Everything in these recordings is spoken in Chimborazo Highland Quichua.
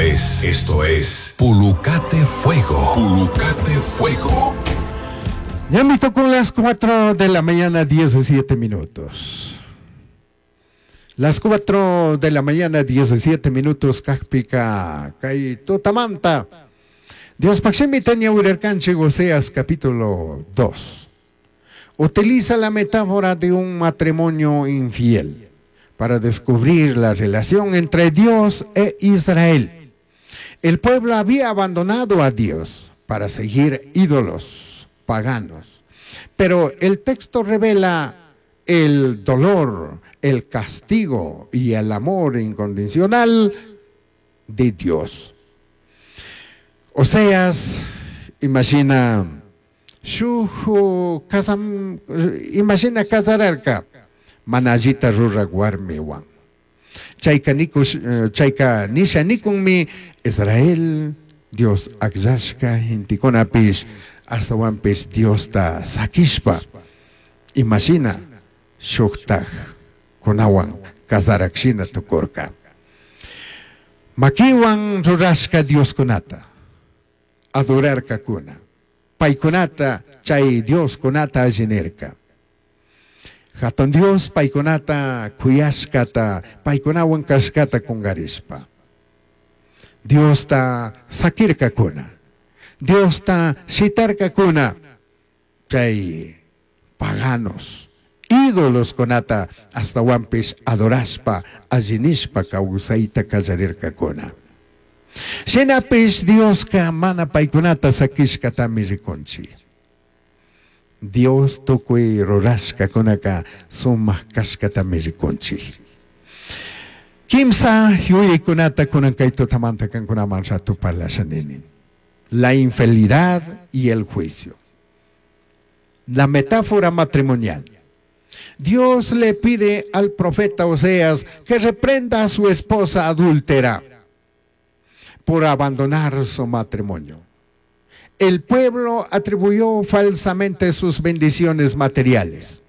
es, esto es Pulucate Fuego. Pulucate Fuego. Ya me tocó las 4 de la mañana, 17 minutos. Las 4 de la mañana, 17 minutos, kajpika, kay tutamanta. Dios Paximi Tania Urercanche, Oseas capítulo 2. Utiliza la metáfora de un matrimonio infiel para descubrir la relación entre Dios e Israel. El pueblo había abandonado a Dios para seguir ídolos paganos. Pero el texto revela el dolor, el castigo y el amor incondicional de Dios. Oseas imagina shuj casam, imagina casararka mana allita ruraj warmiwan. Chayka nikush, chayka nisha nikunmi Israel Dios akllashka gentekunapish ashtawanpish Diosta sakishpa imashina shujtaj kunawan casarakshina tukurka. Makiwan rurashka Dioskunata adorarkakuna. Paykunata chay Dioskunata alli nirka. Hatun Dios paykunata kuyashkata, paykunawan kashkata kungarishpa. Diosta sakirkakuna. Diosta shitarkakuna. Chay paganos, ídolos kunata ashtawanpish adorashpa, alli nishpa kawsayta kallarirkakuna. Shinapish Dioska mana paykunata sakishkatami rikunchik. Dios tukuy rurashkakunaka sumak kashkatami rikunchik. Kimsa yuyaykunata kunan kay tutamanta kankunaman ratu parlasha nini. La infidelidad y el juicio. La metáfora matrimonial. Dios le pide al profeta Oseas que reprenda a su esposa adúltera por abandonar su matrimonio. El pueblo atribuyó falsamente sus bendiciones materiales,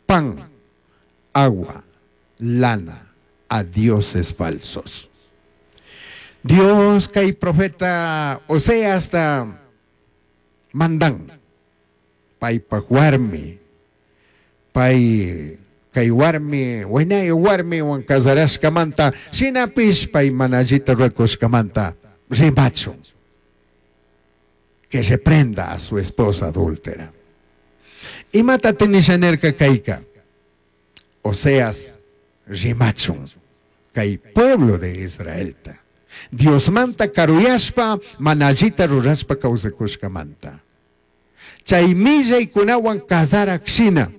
pan, agua, lana, a dioses falsos. Dios kay profeta Oseas ta mandan paypaj warmi, pay kay warmi, waynay warmiwan casarashkamanta, shinapish pay mana allita rurakushkamanta rimachun, que reprenda a su esposa adúltera. Imata nisha nirka kayka? Oseas rimachun kay pueblo de Israelta. Diosmanta karuyashpa mana allita rurashpa kawsakushkamanta. Chay millaykunawan kasarak shina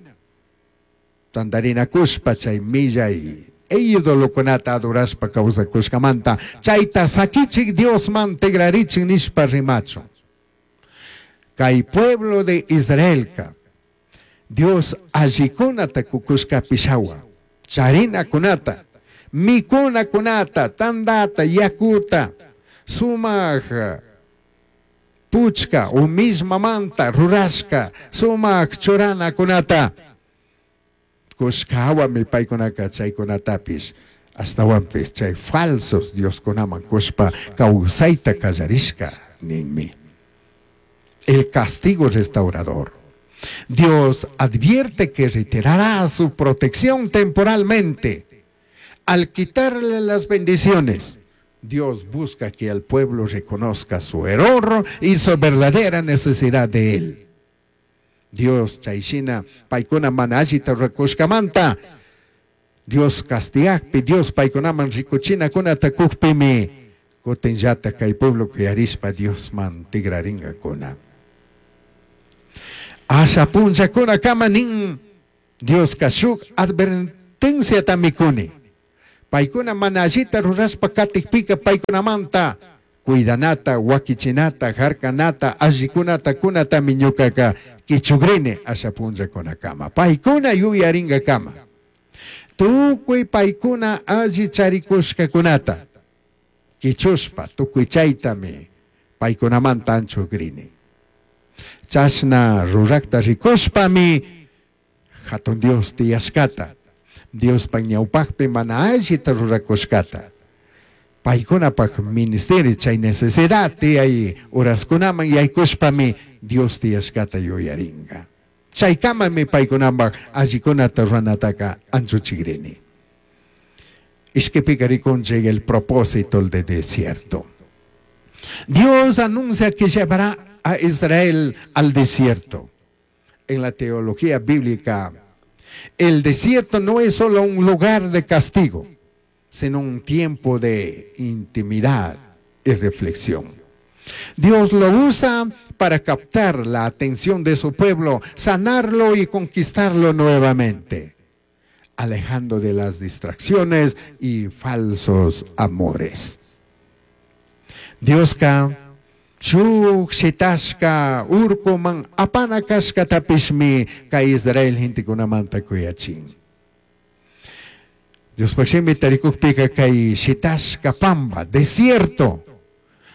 tandarinakushpa chay millay idolokunata adorashpa kawsakushkamanta chayta sakichik Diosman tigrarichik nishpa rimachun. Kay pueblo de Israelka Dios allikunata kukushkapish hawa, charinakunata, mikunakunata, tandata, yakuta, sumak puchka o mismamanta rurashka, sumak churanakunata kushka hawami paykunaka chaykunatapish ashtawanpish chay falsos dioskunaman kushpa kawsayta kallarishka ninmi. El castigo restaurador. Dios advierte que retirará su protección temporalmente. Al quitarle las bendiciones, Dios busca que el pueblo reconozca su error y su verdadera necesidad de él. Dios chayshina paykuna mana allita rurakushkamanta, Dios castigakpi, Dios paykunaman rikuchinakunata kukpimi, kutinllata kay pueblo kuyarishpa Diosman tigraringakuna. Asha punllakuna kama nin, Dioska shuk advertenciatami kuni. Paykuna mana allita rurashpa katikpika paykunamanta cuidanata, wakichinata, harkanata, allikunata kunatami ñukaka kichugrini asha punllakunakama. Paykuna yuyaringakama. Tukuy paykuna alli charikushkakunata kichushpa tukuy chaytami paykunamanta anchugrini. Chashna rurakta rikushpami hatun Dios tiyashkata, Diospa ñawpakpi mana allita rurakushkata. Paykunapak ministerio chay necesidad tiyay uraskunaman yaykushpami Dios tiyashkata yuyaringa. Chaykamami paykunapak allikunata ruranataka anchuchikrini. Ishkipika rikunchik el propósito del desierto. Dios anuncia que llevará a Israel al desierto. En la teología bíblica, el desierto no es solo un lugar de castigo, sino un tiempo de intimidad y reflexión. Dios lo usa para captar la atención de su pueblo, sanarlo y conquistarlo nuevamente, alejando de las distracciones y falsos amores. Dioska shuk shitashka urkuman apana kashkatapishmi kay Israel gentekunamanta kuyachin. Diospaq shimi tarikukpika kay shitashka pamba, desierto.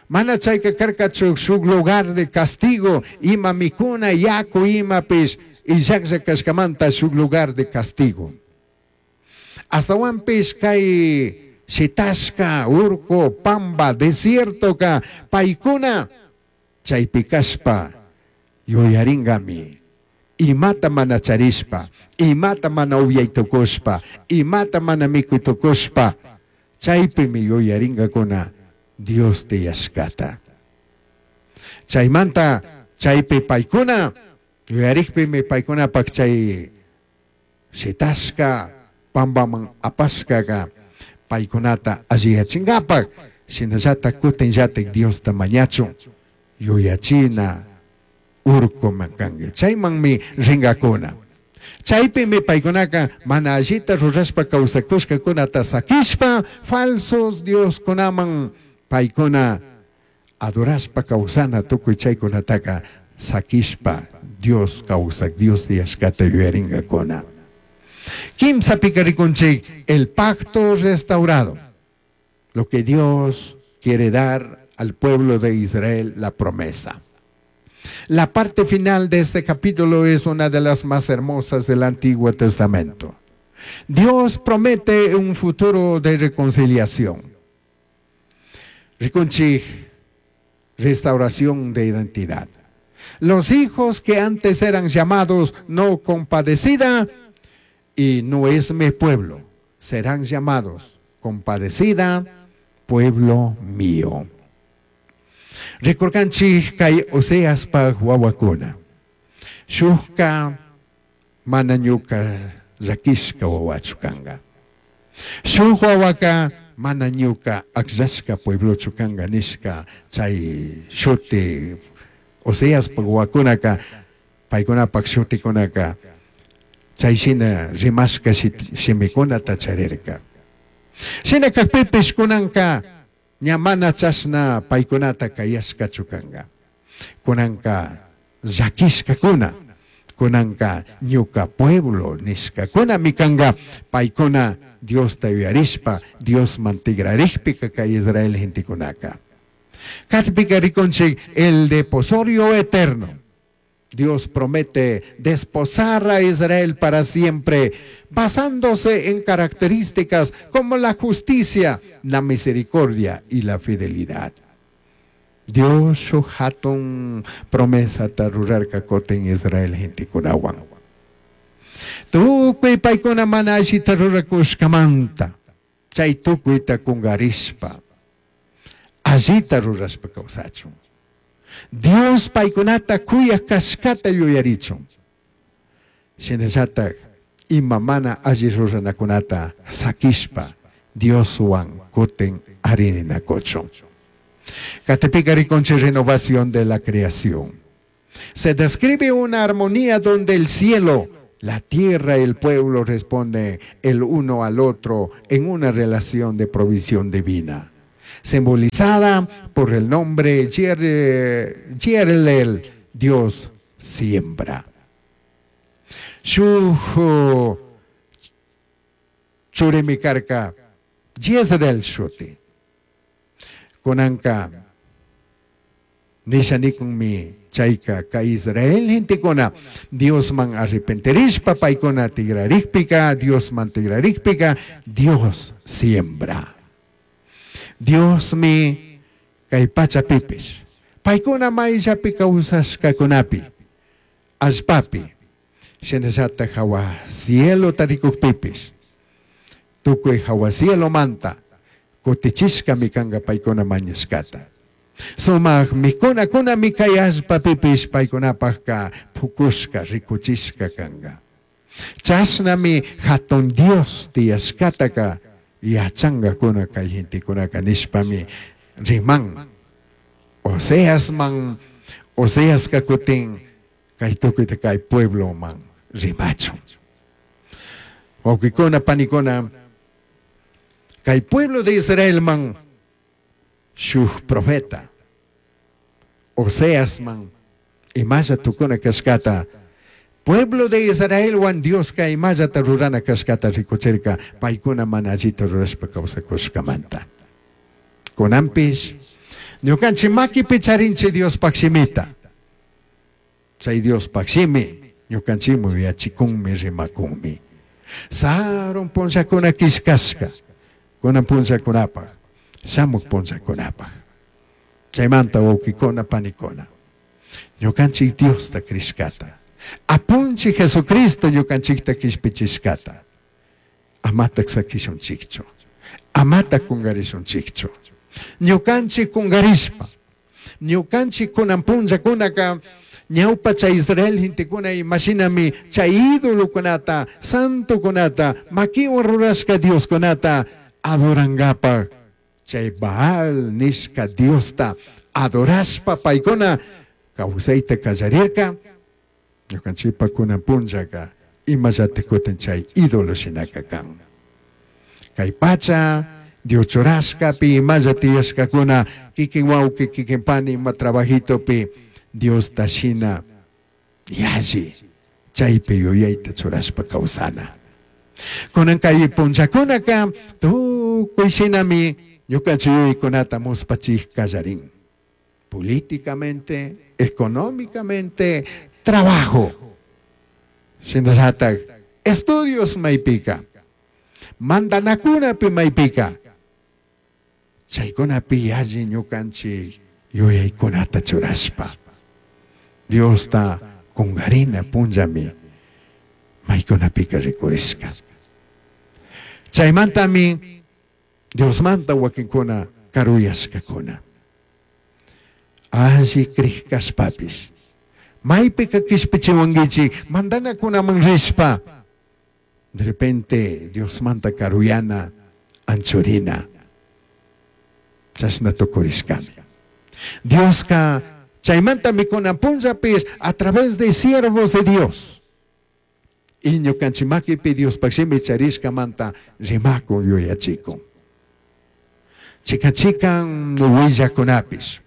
Mana chayka karkachu shuk lugar de castigo, ima mikuna, yaku imapish, illaklla kashkamanta shuk lugar de castigo. Astawanpish kay shitashka, urku, pamba, desiertoka, paykuna chaypi kashpa yuyaringami. Imata mana charishpa, imata mana upyaytukushpa, imata mana mikuytukushpa, chaypimi yuyaringakuna Dios tiyashkata. Chaymanta chaypi paykuna yuyarikpimi paykunapak chay shitashka pambaman apashkaka paykunata alliyachinkapak shinallatak kutinllatik Diosta mañachun yuyachina urkuman kanki. Chaymanmi ringakuna. Chaypimi paykunaka mana allita rurashpa kawsakushkakunata sakishpa falsos dioskunaman paykuna adorashpa kawsana tukuy chaykunataka sakishpa Dios kawsak Dios tiyashkata yuyaringakuna. Kimsapika rikunchik el pacto restaurado. Lo que Dios quiere dar al pueblo de Israel, la promesa. La parte final de este capítulo es una de las más hermosas del Antiguo Testamento. Dios promete un futuro de reconciliación. Rikunchik, restauración de identidad. Los hijos que antes eran llamados no compadecida y no es mi pueblo, serán llamados compadecida, pueblo mío. Rikurkanchik kay Oseaspaj wawakuna. Shukka mana ñuka llakishka wawachu kanka. Shuk wawaka mana ñuka akllashka pueblochu kanka nishka chay shuti Oseaspaj wawakunaka paykunapak shutikunaka chay shina rimashka shimikunata charirka. Shina kakpipish kunanka ña mana chashna paykunata kayashkachu kanka. Kunanka llakishkakuna, kunanka ñuka pueblo nishkakunami kanka paykuna Diosta yuyarishpa Diosman tigrarikpika kay Israel gentekunaka. Katpika rikunchik el deposorio eterno. Dios promete desposar a Israel para siempre, basándose en características como la justicia, la misericordia y la fidelidad. Dios shuk hatun promesata rurarka kutin Israel gentekunawan. Tukuy paykuna mana allita rurakushkamanta, chay tukuyta kungarishpa, allita rurashpa kawsachun. Dios paykunata kuyak kashkata yuyarichun. Shinallatak ima mana alli ruranakunata sakishpa Dioswan kutin arininakuchun. Katipika rikunchik renovación de la creación. Se describe una armonía donde el cielo, la tierra y el pueblo responden el uno al otro en una relación de provisión divina, simbolizada por el nombre Yerlel, Dios siembra. Shuk churimi karka Jezreel shuti. Kunanka nisha nikunmi chayka kay Israel gentekuna Diosman arrepentirishpa paykuna tigrarikpika, Diosman tigrarikpika, Dios siembra. Diosmi kay pachapipish paykuna mayllapi kawsashkakunapi allpapi shinallatak hawa cielota rikukpipish tukuy hawa cielomanta kutichishkami kanka paykuna mañashkata. Sumak mikunakunami kay allpapipish paykunapakka pukushka rikuchishka kanka. Chashnami hatun Dios tiyashkataka yachankakuna kay gentekunaka nishpami riman. Oseasman, Oseaska kutin kay tukuyta kay puebloman rimachun. Wawqikuna, panikuna, kay pueblo de Israelman shuk profeta Oseasman imalla tukuna kashkata pueblo de Israelwan Dioska imallata rurana kashkata rikuchirka paykuna mana allita rurashpa kawsakushkamanta. Kunanpish ñukanchik makipi charinchik Diospaj shimita. Chay Diospaj shimi ñukanchikman yuyachikunmi rimakunmi. Sarun punllakuna killkashka kunan punllakunapaj shamuk punllakunapaj. Chaymanta wawqikuna panikuna ñukanchik Diosta crishkata apunchik Jesucristo ñukanchikta kishpichishkata amatak sakishunchikchu amatak kungarishunchikchu. Ñukanchik kungarishpa ñukanchik kunan punllakunaka ñawpa chay Israel gentekuna imashinami chay idolokunata santokunata makiwan rurashka Dioskunata adorankapaj chay Baal nishka Diosta adorashpa paykuna kawsayta kallarirka ñukanchikpa kunan punllaka imallata kutin chay ídolo shinaka kan. Kay pacha Dios churashkapi imalla tiyashkakuna kikin wawqi kikin pani ima trabajitopi Diosta shina yalli chaypi yuyayta churashpa kawsana. Kunan kay punllakunaka tukuy shinami ñukanchik yuyaykunata muspachik kallarin. Políticamente, económicamente, trabajo. Shinallatak estudios maypika, mandanakunapi maypika, chaykunapi yalli ñukanchik yuyaykunata churashpa Diosta kungarina punllami maykunapika rikurishka. Chaymantami Diosmanta wakinkuna karuyashkakuna. Alli crij kashpapish maypika kishpichiwankichik mandanakunaman rishpa de repente Diosmanta karuyana anchurina chashna tukurishkami. Dioska chaymantami kunan punllapish a través de siervos de Dios y ñukanchik makipi Diospaj shimi charishkamanta rimakun yuyachikun. Chikan chikan willakunapish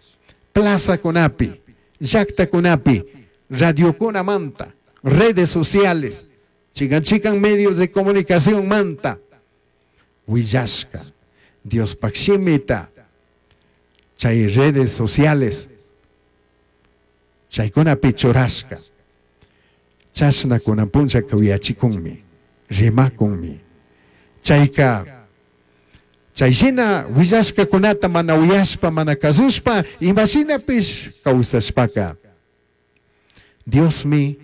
plazakunapi, llaktakunapi, radiokunamanta, redes sociales, chikan chikan medios de comunicación manta, willashka Diospaj shimita chay redes sociales chaykunapi churashka chashna kunan punllaka uyachikunmi rimakunmi. Chayka chayshina willashkakunata mana uyashpa mana kasushpa imashinapish kawsashpaka Diosmi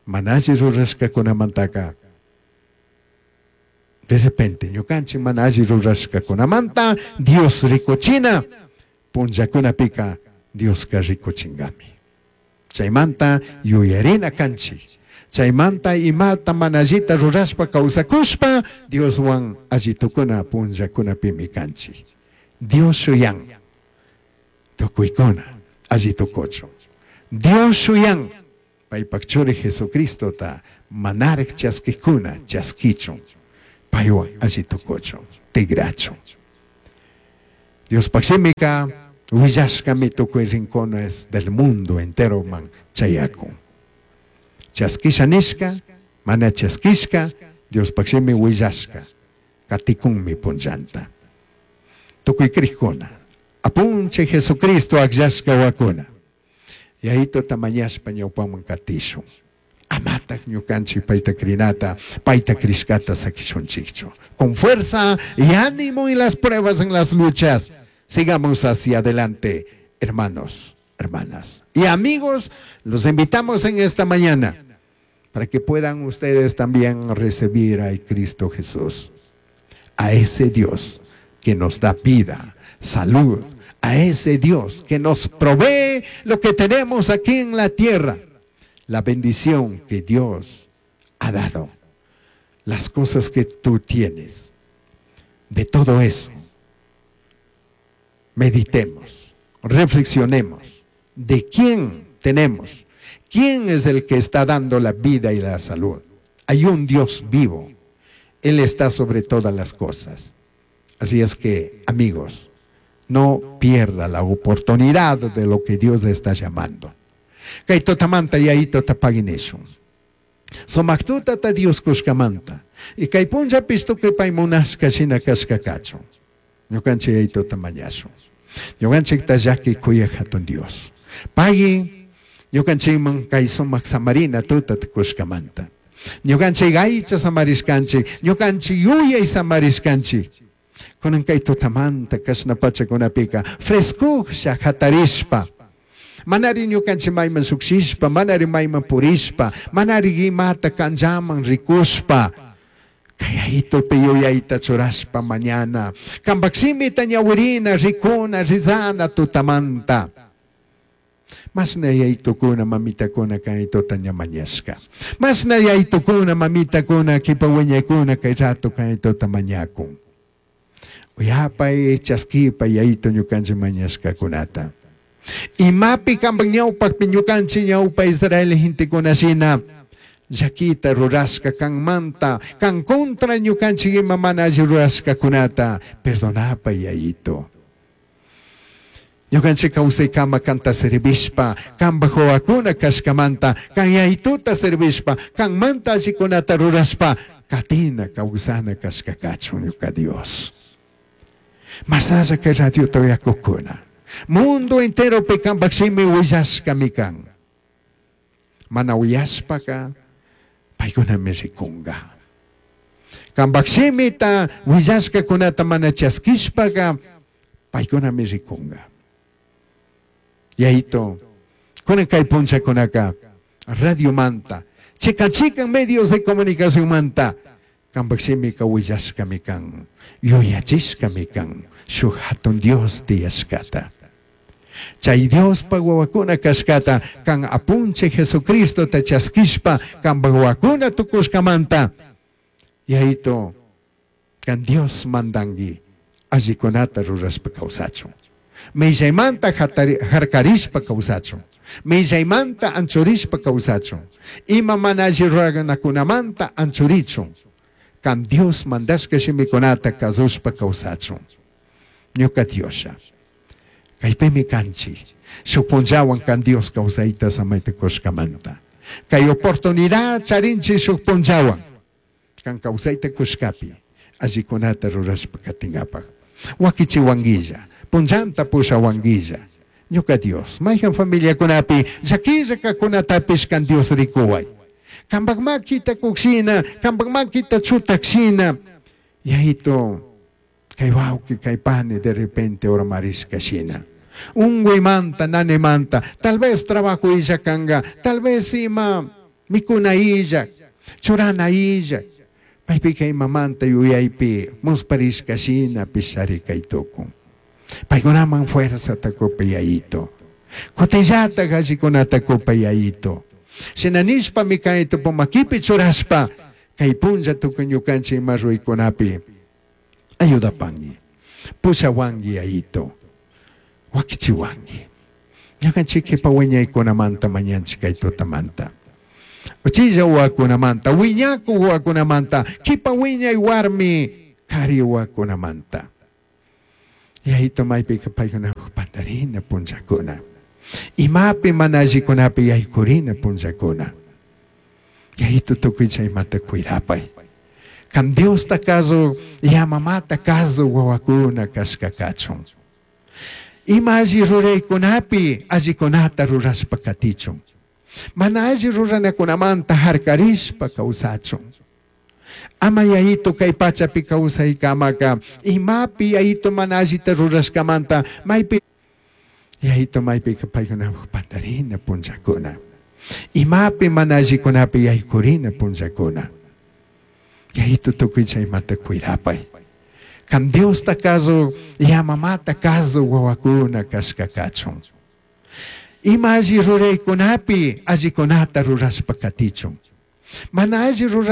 mana alli rurashkakunamantaka de repente ñukanchik mana alli rurashkakunamanta Dios rikuchina punllakunapika Dioska rikuchinkami. Chaymanta yuyarina kanchik. Chaymanta imata mana allita rurashpa kawsakushpa Dioswan allitukuna punllakunapimi kanchik. Dios shuyan tukuykuna allitukuchun. Dios shuyan paypak churi Jesucristota manarik chaskikuna chaskichun paywan allitukuchun tigrachun. Diospaj shimika willashkami tukuy rincones del mundo entero man chayakun. Chaskisha nishka, mana chaskishka, Diospaj shimi willashka, katikunmi punllanta. Tukuy crijkuna, apunchik Jesucristo akllashka wakuna. Yayituta mañashpa ñawpaman katishun. Amataj ñukanchik payta crinata, payta crishkata sakishunchikchu. Con fuerza y ánimo en las pruebas, en las luchas, sigamos hacia adelante, hermanos, hermanas y amigos. Los invitamos en esta mañana para que puedan ustedes también recibir a Cristo Jesús, a ese Dios que nos da vida, salud, a ese Dios que nos provee lo que tenemos aquí en la tierra, la bendición que Dios ha dado, las cosas que tú tienes. De todo eso, meditemos, reflexionemos de quién tenemos, quién es el que está dando la vida y la salud. Hay un Dios vivo, Él está sobre todas las cosas. Así es que, amigos, no pierda la oportunidad de lo que Dios le está llamando. Kay tutamanta Yayitota pagui nishun. Sumac tutata Dios cushcamanta. Y kay punllapish tucui pai munashca shina cashca cachun. Ñucanchik Yayitota mañashun. Ñucanchikta llaqui cuyaj jatun Dios. Pagui ñucanchikman kay sumac samarina tutata cushcamanta. Ñucanchik aycha samarishcanchik, ñucanchik yuyay samarishcanchik. Cunan kay tutamanta cashna pachakunapika frescujlla jatarishpa. Manari ñukanchik mayman llukshishpa, manari mayman purishpa, manari imata canllaman rikushpa. Kay Yayitupi yuyayta churashpa mañana. Kampak shimita ñawirina, rikuna, rizana tutamanta. Mashna yaytukuna, mamitakuna kay tuta ña mañashka. Mashna yaytukuna, mamitakuna, kipa wiñaykuna kay rato kay tuta mañakun. Uyapay, chaskipay Yayito ñukanchik mañashkakunata. Imapi kampak ñawpakpi ñukanchik ñawpa Israel gentekuna shina llaquita rurashka kanmanta, kan contra ñukanchik ima mana alli rurashkakunata perdonapay Yayito. Ñukanchik kawsaykama kanta servishpa, kampak wawakuna kashkamanta, kan Yayituta servishpa, kanmanta allikunata rurashpa, katina kawsana kashka kachun ñuka Dios. Mashnalla kay radiota uyakukuna. Mundo enteropi kampak shimi willashkami kan. Mana uyashpaka paykunami rikunga. Kampak shimita willashkakunata mana chaskishpaka paykunami rikunga. Yayito, kunan kay punchakunaka radiomanta, chikan chikan medios de comunicación manta, kampak shimika willashkami kan, yuyachishkami kan, shuk hatun Dios tiyashkata. Chay Diospa wawakuna kashkata, kan apunchik Jesucristota chaskishpa, kampak wawakuna tukushkamanta. Yayito, kan Dios mandangi, allikunata rurashpa kawsachun. Millaymanta harkarishpa kawsachun. Millaymanta anchurishpa kawsachun. Ima mana alli ruranakunamanta anchurichun. Kan Dios mandashka shimikunata kasushpa kawsachun. Ñuka Dioslla. Kaypimi kanchik. Shuk punllawan kan Dios kawsayta samayta kushkamanta. Kay oportunidad charinchik shuk punllawan. Kan kawsayta kushkapi. Allikunata rurashpa katinkapak. Wakichiwanguilla. Punllanta pushawanguilla. Ñuka Dios, mayhan familiakunapi llaquilla kakunatapish kan Dios rikuway. Kampak makita kukshina, kampak makita chutakshina. Yayito, kay wawqi, kay pani de repente urmarishka shina. Unguymanta, nanemanta, tal vez trabajo illa kanga, tal vez ima mikuna illa, churana illa. Paypika imamanta yuyaypi musparishka shina pishari kay tukun. Paykunaman fuerza kupi Yayito. Kutillata allikunata kupi Yayito. Shina nishpami kay tupumakipi churashpa, kay punlla tukuy ñukanchik ima ruykunapi ayudapangi. Pushawangi Yayito. Wakichiwangi. Ñukanchik kipa wiñaykunamanta mañanchik kay tutamanta. Uchilla wawakunamanta, wiñaku wawakunamanta, kipa wiñay warmi kari wawakunamanta. Yayito maypika paykunapak pandarina punllakuna. Imapi mana allikunapi yaykurina punllakuna. Yayito tukuy chaymanta cuidapay. Kan Diosta kasu, ya mamata kasu wawakuna kashka kachun. Ima alli ruraykunapi allikunata rurashpa katichun. Mana alli ruranakunamanta harkarishpa kawsachun. Ama Yayito kay pachapi kawsaykamaka imapi Yayito mana allita rurashkamanta maypi Yayito maypika paykunapak pantarina punllakuna. Imapi mana allikunapi yaykurina punllakuna. Yayito tukuy chaymanta cuidapay. Kan Diosta kazu, yamamata kazu wawakuna kashka kachun. Ima alli ruraykunapi allikunata rurashpa katichun. Mana alli rurana.